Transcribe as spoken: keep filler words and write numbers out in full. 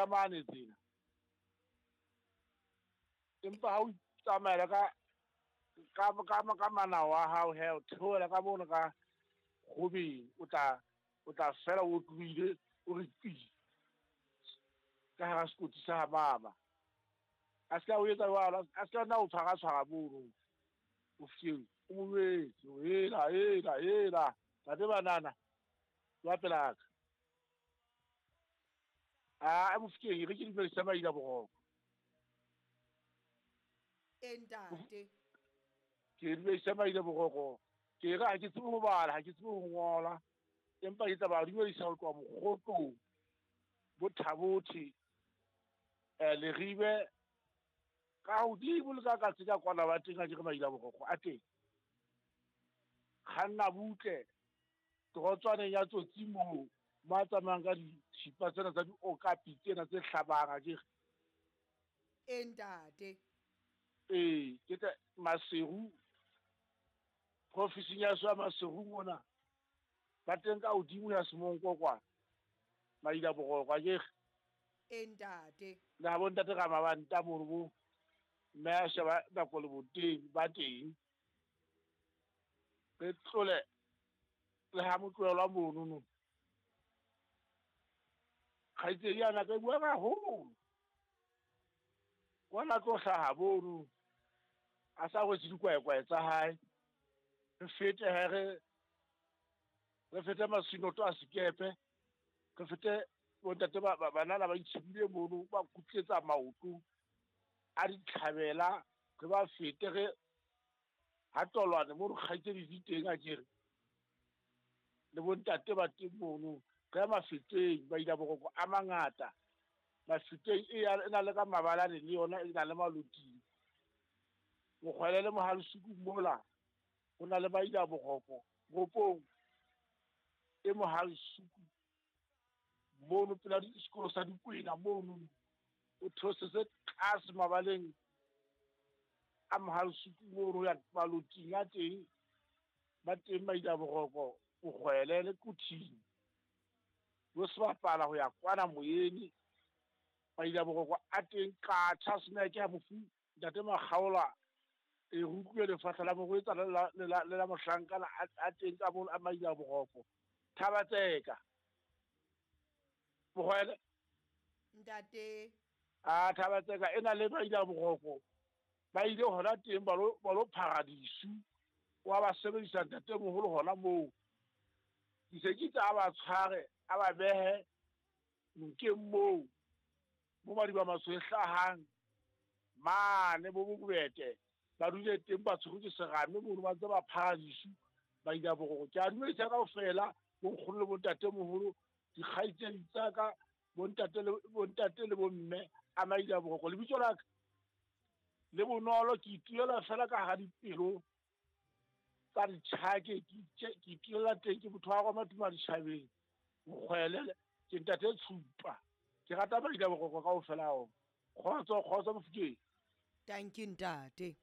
ka mane tsena. Empa ha o tsamaela ka ka ka ka manao a hao he o theohela ka mono ka kgobeng, o tla o tla fela o tlohile o re pi ka hara sekoti sa mama. A se ka o etsa jwalo, a se ka nna o tshwara tshwara mono. O fihleng o mo jwetse, hela hela hela ntate banana wa pelaka. A Mofokeng e re ke dumedisa maila boroko. E ntate. Ke dumedisa maila boroko. Ke re ha ke tsebe ho bala, ha ke tsebe ho ngola. Empa ke tla ba dumedisa ho tloha Mokgotlong, bo Thabothe, eh Leribe, ka hodimo le ka katse ka kwana ba teng ha ke re maila boroko a teng. Kganna butle torotswaneng ya Tsotsi moo, mo a tsamayang ka dithipa tsena tsa diokapi tsena tse hlabang a ke re. E ntate. Ee, ke tla Maseru, profising ya ya Maseru mona. Ba teng ka hodimo ya Semonko kwana. Maila boroko a ke re. E ntate. Le ha bo ntate Ramabanta mono bo mme a sheba nako le boteng ba teng. Re tlole le ha motlohelwa mono no. Kgaitsedi yana ka bua haholo. Kwana tlo hlaha mono. A sa rwetse dikwaekwae tsa hae. Re fete he re re fete masinoto a sekepe. Re fete bontate ba banana ba itshebile mono ba kutletsa maoto a ditlhabela, re ba fete re ha tolwane mono kgaitsedi di teng a ke re. Le bontate ba teng mono. Re ya Mafeteng, ba ila boroko a mangata. Mafeteng e ya e na le ka mabalane le yona e na le maloting. Mokgwele le Mohalisuku mola ho na le ba ila boroko ropong e Mohalisuku mono pela sekolo sa Dikwena mono o theosetse tlase mabaleng a Mohalisuku mono ya maloting a teng ba teng ba ila boroko Mokgwele le Kuthing. Bo sebapala ho ya kwana moyeni ba ila boroko a teng ka tjha ke mofu ntate Makgaola e rutlwe lefahla la morwetsana le la le la mohlankana a teng ka mono a maila boroko Thabatseka. Mokgwele ntate. A Thabatseka e na le ba ila boroko ba ile hona teng ba lo ba lo paradisu wa ba sebedisa ntate moholo hona moo. Ke se ke tsa ba tshware a ba behe nokeng moo mo madiba matsho e hlahang mane bo bobete ba dule teng ba tshwerwe ke serame mono ba ntse ba phahadisu ba ila boroko. Ke a dumedisa kaofela bo nkgono le bontate moholo, dikgaitsedi tsa ka, bontate le bontate le bomme a maila boroko. Lebitso la ka le bonolo, ke itulela fela ka hara dipelo tsa ditjhake, ke itulela teng ke motho wa roma tuma ditjhabeng. Mokgwele ke ntate Tshupa. Ke rata ba ila boroko kaofela ho. Kgotso, kgotso Mofokeng. Thank you ntate.